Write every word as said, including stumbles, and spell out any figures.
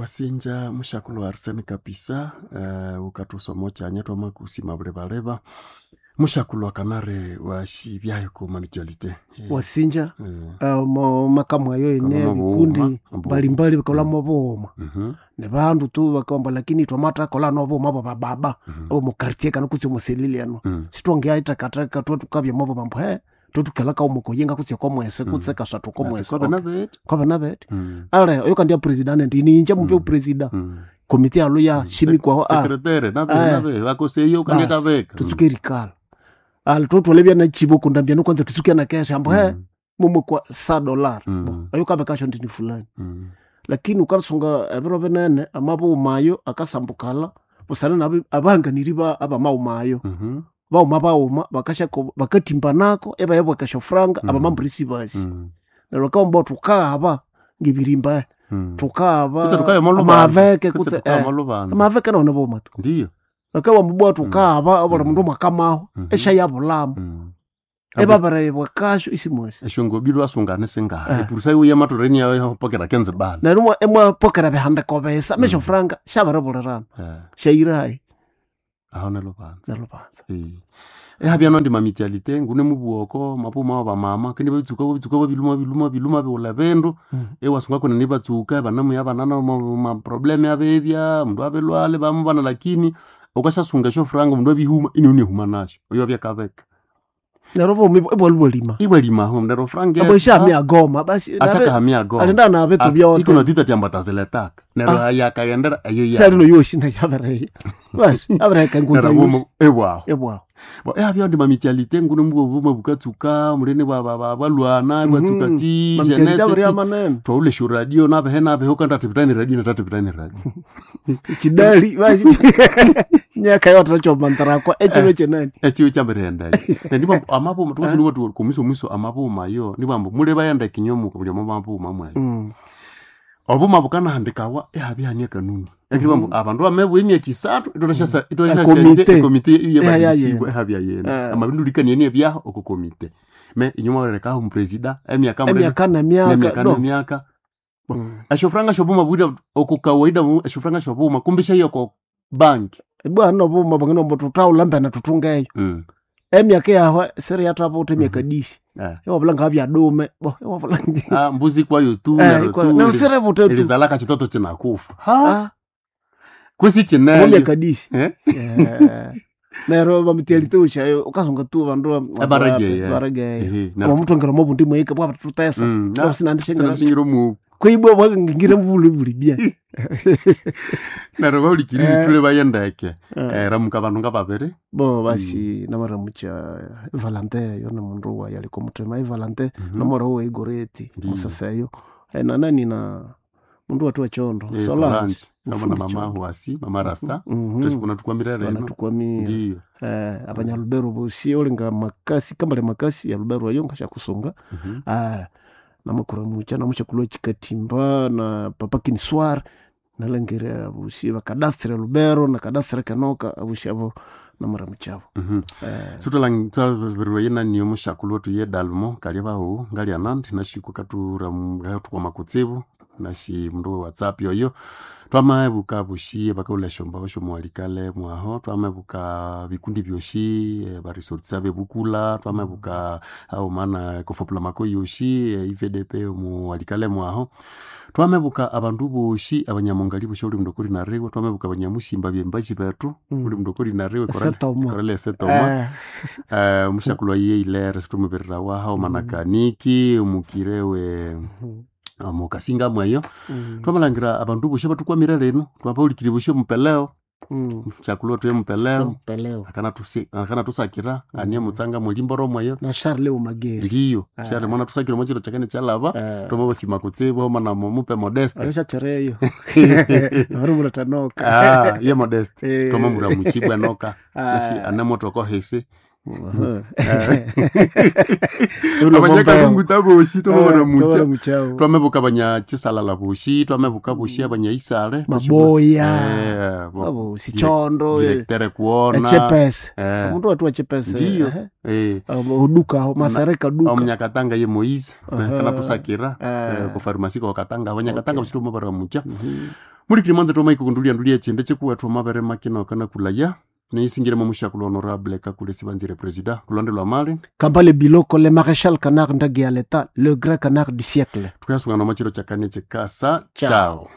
Wasinja mushakulhu Arsene Kapisa eh, ukathusoma kyanya twamakusima bulibaleba mushakulhu akanari washibyayo ku mutualité. Eh, Wasinja eh, eh, mo makamu ayo ene Kalama bikundi bughuma, bughuma. mbalimbali bikolamo bughuma mhm, ne bandu tu bakamba lakini twamathakola nobughuma bwa bababa mhm, abo mu quartier kana kutse omuselili eno mm, sitwangeyaithakathaka twethukabya mobo bambu he twethukalaka omukoyinga kutse okomwese kutse kasathu Ati okomwese kwabana bethu. kwabana bethu Mm, ale oyo kandi ya president ndi ninje mupya Mm. president mm. komite yalo ya shimikwaho a Sekretere nabe Eh. nabe bakoseyo kandi Basi, kabeka. tutsuke erikala ale twotwala ebyanachiboko ndambyano kwanza tutsuke nakesha ambu he Mm, mumwe kwa sa dollar Mm. bo oyo kabekasho ndini fulani mm, lakini ukasunga ebiro binene amabumayo akasambukala busana nabi abanganiri ba abamaumayo mhm, bauma bauma bakashako bakatimbanako ebayabwakasha franga Mm. abamambrisi basi mm, neryo bakawamba thukaaba ngebirimba mm. thukaaba Kutse tukabya molubanza. amaveke Kutse kutse tukabya eh, molubanza. amaveke none boma tu Ndiyo. bakawamba bwa thukaaba obuli Mm. mundu mwakamaho Mhm. eshayabulamo Mm. ebabirebwakasho isimwesi Eshongobi lwasungane singaha. Eh. Epurusa iwe yamathoreni yayo pokera kenze bala. neryo imwa- imwapokera bihandiko bisa Mm. mesho franga shabiribulirana Eh, shayirahayi aho nelubanza. nelubanza Eh. Ehabya nondi mamitialite ngune mubuoko mapuma wa bamama kandi babitsuka babitsuka babiluma biluma biluma biwula bindu ewasunga kwene nibatsuka banamu yabanana maprobleme abebya mundu abelwale bamubana lakini ukashasunga esyo franga mundu abihuma ini unihuma nasyo oyo abyakabeka neryo bomi ibwalibwalima iwalimaho neryo franga abo ishamya goma basi nabe- ashakahamya goma alinda nabe tubyote ikono tita tyamba taziletaka neryo Ah. yakaghendera eyo ya salino yoshi nayabereya basi abereka engunza Neryo yoshi bomo- ewaho ebwaho Bo, ehabya ndi mamitialite ngune mubwo bukatsuka mulene bwa- bwa- bwa- bwalwana bwatsuka ti mamitelite jeunesse abiri ti amanene twaulesha radio nabehe nabehe ukanda atipitani radio natatipitani radio chidali basi nyaka yotachomantarakwa echiro chenani echiyo chambirendayo nendibambo amabuma tukasiniwa tu kumiso mwiso amabuma yo nibambo mule bayenda kinyomuka buli omo mabuma mwayo Mm. obuma bukanahandikawa ehabya kanuni ekibambo abandu bamebwa emyaka isathu itwashasa Ekomite. ekomite Eha ya yebaisibwa yene. ehabya yene Eh. amabindulikanieni ebyaho oko komite me inyuma werekaho omupresida emyaka mulebe- emyaka nemyaka nemyaka no nemyaka Mm. eshofuranga shobuma bwira oko kawaida mu- eshofuranga shobuma kumbisha yoko bank bwana obuma bwanginombo tutaula mbene tutungeyo mm. emyaka yaho seri yathabuta emyaka disi eh. ewabula ngabyadome bo ewabula ah, mbuzi kwayo tu Eh, nero ikwa- tu, neryo li- siributa tu lizalaka chitoto chinakufa ha Ah, kwesi chineyo omyaka disi eh? Eh, neryo bamutialite ushayo ukasunga tu bandu Abaregeya. baregeya Ehe, nero- omutongera mobundi mweka bwaba tutesa Mm, na- sinandishengera sinandishingiro mu kwibwa bwangire mubuli buli bya nero baulikiri Eh. tule bayendeke Eh. eh, ramuka bandu nga babiri bo basi namaramucha Valentin yo ni mundu wa yaliko muthema Valentin Mhm. namora wa igoreti Ndiyo. musaseyo Eh, na nani na mundu watu wa chondo Eh, Solange Solange kama na Mufundi mama Chondo. huasi mama rasta Mhm. tweshikuna tukwamire reno banatukwamira ndiyo eh, abanyalubero bosi olinga makasi kambale makasi ya lubero ayo ngashakusunga Mhm. ah, namakuramucha namushakulwa chikatimba na papa kiniswar nalengera busi bakadastre lubero na kadastre kanoka abusi abo namaramuchabo Mhm. eh, suthalangisabirirwa yenaniyo mushakulu wetu ye dalmo kalya bahu ngalya nandi nashikwa katura kutsibu nashi mundu we whatsapp yoyo twamaebuka bushiye bakaula shomba osho mwalikale mwaho twamaebuka bikundi byoshi eh, baresortisa bebukula twamaebuka ao mana kofopula mako yoshi eh, ivdp muwalikale mwaho twamebuka abandu boshi abanyamongali boshi uli mundu kuri nariwe twamebuka abanyamusimba byembashi betu Mm. uli mundu kuri nariwe Esetoma. korale esetoma eh, Eh, omushakulwa ye ilere situmubirira waha omanakaniki omukire we mm, omukasinga mweyo mm, twamalhangira abandu boshi abatukwamire lino twabaulikiri boshi omupeleo mm. mushakulwa tuye mupeleo Mpeleo akanatusi- akanatusakira anie mutsanga mulimboro mweyo na Charles Omageri ndiyo Ah. shali mwana tusakira omwachiro chakene chalava eh, twamabasima kutsibu homa na mupe modeste ayo shachereyo abarimulata noka Ah, ye modeste Eh, twamamura muchibwa noka ah, nashi anemotoko hisi Abanyakalunguta boshi twamabaramucha twamabaramucha twamebuka abanyachisalala boshi twamebuka boshi abanyaisale maboya Eh, bo- abo sichondo direktere kuona echepese Eh, omundu watu wachepese Ndiyo. ehe. eh, Abo, oduka aho masareka duka omunyakatanga ye Moise Aha. kanatusakira Eh. kufarumasi kokatanga abanyakatanga Okay. boshi twamabaramucha Mhm. muri kirimanza twamaikukundulia ndulia chinde chikuwa twamabere makina kanakulaya niisingiremo mushakulo honorable kakule sibanzire presida kulonde lwa mali Kambale Biloko, le maréchal canard ndagi ya l'État, le grand canard du siècle. tukayasungana machiro chakane chikasa Ciao. chao.